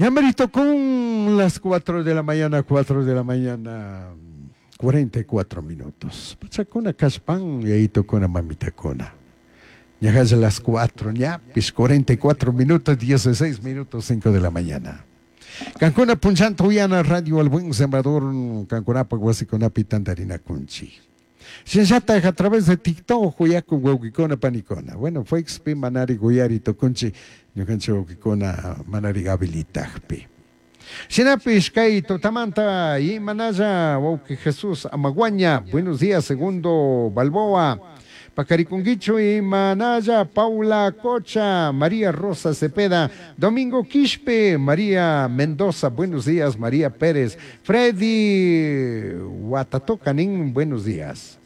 Ñamerito con las 4 de la mañana, 4 de la mañana, 44 minutos. Pachakuna kashpan, yayitukuna mamitakuna. Ñajash las 4, ñapis 44 minutos, 16 minutos, 5 de la mañana. Kankuna punchanta uyana radio El Buen Sembrador, kankunapaq wasikunapi tantarinakunchik. Shinllataj a través de TikTok uyakun wawqikuna panikuna. Bueno, Facebookpi manari uyari tukunchik ñukanchik wawqikuna manari habilitajpi. Shinapish kay tutamanta imanalla wawqi Jesús Amaguaña, buenos días Segundo Balboa. Pacarikunguichu imanalla Paula Cocha, María Rosa Cepeda, Domingo Quispe, María Mendoza, buenos días María Pérez, Freddy Guatatocanín, buenos días.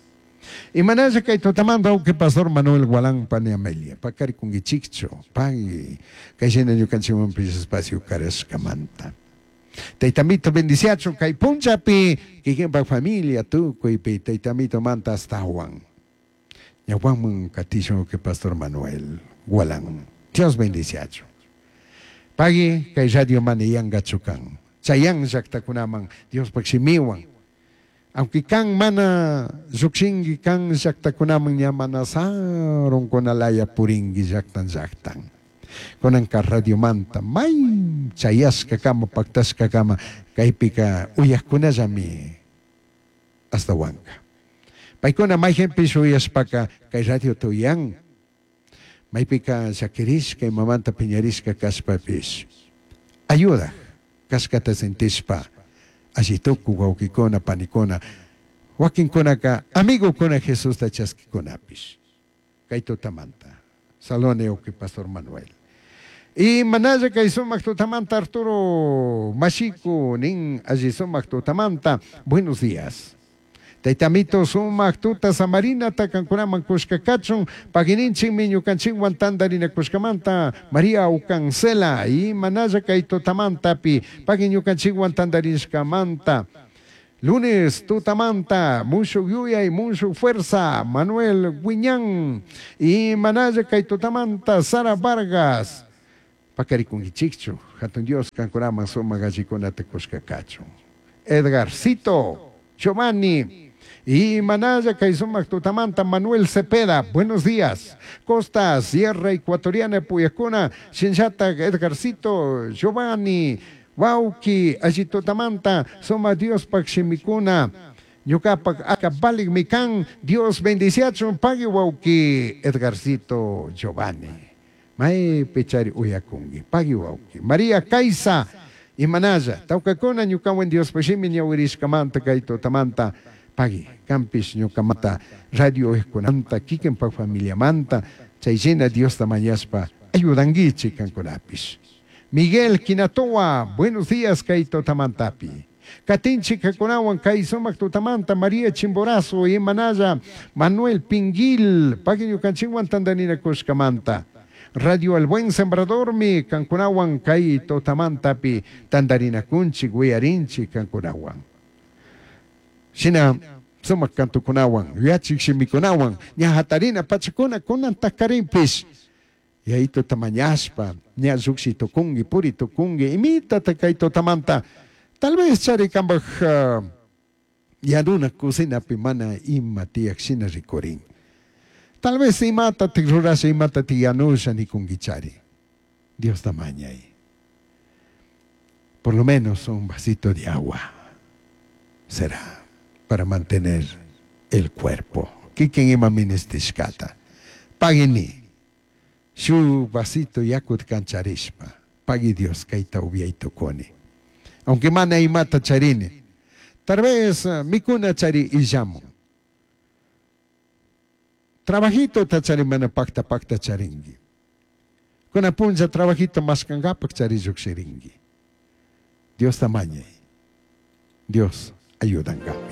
Imanalla kay tutamanta wawqi Pastor Manuel Gualán pani Amelia, pacarikunguichikchu, pagui, kay shina ñukanchikmanpish espacio karashkamanta. Taytamito bendiciachu kay punchapi, kikinpak familia tukuypi taytamito manta astawan. Ñawpaman katishun que Pastor Manuel Gualán. Dios bendiciachu. Pagui kay radio mana yankachu kan. Chayan llaktakunaman Diospaq shimiwan. Aunque kan mana llukshinki kan llaktakunaman ña mana sarunkunalaya purinki llaktan llaktan. Kunanka radiomanta may chayashkakama paktashkakama kaypika uyakkunallami astawanka. Paykuna mayqinpish uyashpaka kay radiota uyan. Maypika llakirishka imamanta piñarishka kashpapish ayuda kashkata sentishpa alli tukuy wawqikuna panikuna wakinkunaka amigokuna Jesusta chaskikunapish kay tutamanta. Salone wawqi Pastor Manuel. Y manalla kay sumaq tutamanta Arturo Mashiku nin alli sumaq tutamanta. Buenos días. Taytamito sumaq tuta samarinata kankunaman kushka kachun pagininchikmi ñukanchikwan tantarinakushkamanta María Ucancela y manalla kay tutamantapi pagui ñukanchikwan tantarishkamanta. Lunes tutamanta mushuk yuyay mushuk fuerza Manuel Guiñán y manalla kay tutamanta Sara Vargas. Pakarikunkichikchu hatun Dios kankunaman sumaq allikunata kushka kachun. Edgarcito Giovanni y manalla kay sumaq tutamanta Manuel Cepeda, buenos días. Costa Sierra Ecuatoriana Puyacuna, Shinllatak Edgarcito Giovanni, Wauki, alli tutamanta, suma Diospaq shimikuna, ñukapak aka valikmi kan, Dios bendiciachun pagui wauki Edgarcito Giovanni. Maypi chari uyakunki, pagui wauki. María Kaisa, imanalla, tawkakuna ñukawan Diospaq shimi ñawirishkamanta kay tutamanta, pagui, kanpish ñukamanta, radio uyajkunamanta, kikinpak familiamanta, chay shina Diosta mañashpa ayudankichik kankunapish. Miguel Quinatoa, buenos días kay tutamantapi. Katinchik kakunawan kay sumaq tutamanta María Chimborazo, imanalla Manuel Pinguil, pagui ñukanchikwan tantarinakushkamanta. Radio El Buen Sembradormi kankunawan kay tutamantapi tantarinakunchik wiyarinchik kankunawan. Shina sumaq kantukunawan, yachik shimikunawan, ña hatarina pachakuna kunan takarinpish. Yayito tamañashpa, ña lluqshi tukunki, puri tukunki, imitata kay tutamanta. Tal vez chari kanpaj yaruna cocinapi mana ima tiyak shina rikurin. Tal vez imata tik rurasha, imata tik yanusha nikunki chari. Dios tamañay. Por lo menos un vasito de agua será para mantener el cuerpo. Kikin ima ministishkata. Pagini. Shu vasito yakut kancharishpa. Pagui Dios kayta upiay tukuni. Aunque mana imata charini. Tal vez mikuna chari illamun. Trabajito ta chari mana pakta pakta charingi. Kuna punlla trabajito maskangapak chari llukshiringi. Dios tamañay. Dios ayudangami.